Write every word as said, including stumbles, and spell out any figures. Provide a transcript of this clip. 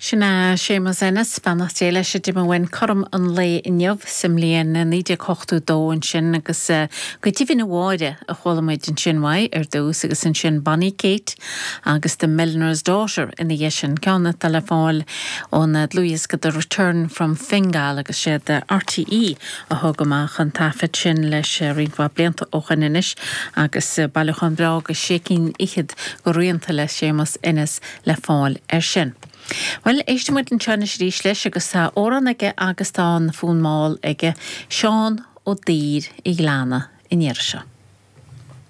Sin é Séamus Ennis, beannacht Dé leis a d'imigh uainn cothrom an lae inniu sa mbliain naoi déag ochtó dó ansin agus go deimhin a Mháire a chuala muid ansin uaidh ar dtús agus ansin Bonnie Kate agus The Milliner's Daughter ina dhiaidh sin, ceann atá le fáil ón dlúthdhiosca The Return from Fingal agus siad RTÉ a thug amach an taifead sin leis roinnt mhaith blianta ó shin anois agus bailiúchán breá de sé cinn fhichead de rianta le Séamus Ennis le fáil air sin. Bhuel, éistfidh muid anseo anois arís leis agus tá amhrán aige agus tá an fonn mall aige, Seán Ó Duibhir an Ghleanna an iarraidh seo.